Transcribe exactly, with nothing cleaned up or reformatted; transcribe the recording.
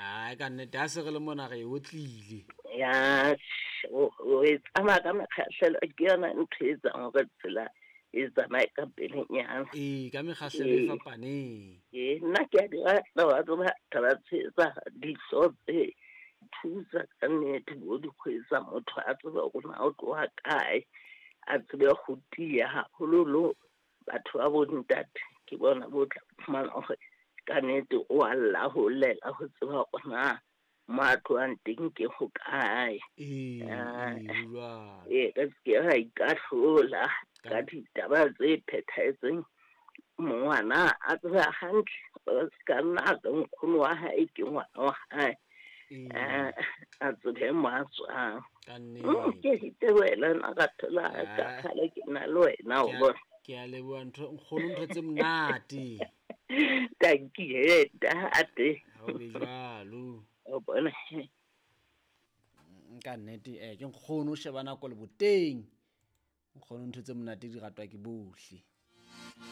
Ai ka nnete ha se re le mona re e otlile. Ya o o e tsamaya ka mekgahlelo, ke yona ntho e etsang hore tsela e tsamaye ka pelenyana. Ee, ka mekgahlelo e Ee. fapaneng. Ee, nna ke a di rata wa tseba taba tse tsa dihlooho tse thusa ka nnete bo di kgwetsa motho a tsebe hore na o tloha kae, a tsebe ho tiya haholoholo batho ba bo ntate ke bona bo tla fumana hore ka nnete o a lla ho llela ho tseba hore na mo a tlohang teng ke hokae. Ee, Ah, ee, ho jwalo. Ee, re se ke ra ikahlola Ka ka ditaba tse phethahetseng. Ngwana a tseba hantle, o ska nna a re nkgono wa hae ke ngwana wa hae. Ee. Ah, a tsebe mo a tswang. Ka Mm, nnete. ke itebohela nna ka thola ka Ah. kgale ke na le wena o Ke a- bona. Ke a leboha ntho nkgono ntho tse monate. Tanki he ntate. Ha o be jwalo. O bona. Ka nnete eh ke nkgono o sheba nako le boteng. Nkgono ntho tse monate di ratwa ke bohle.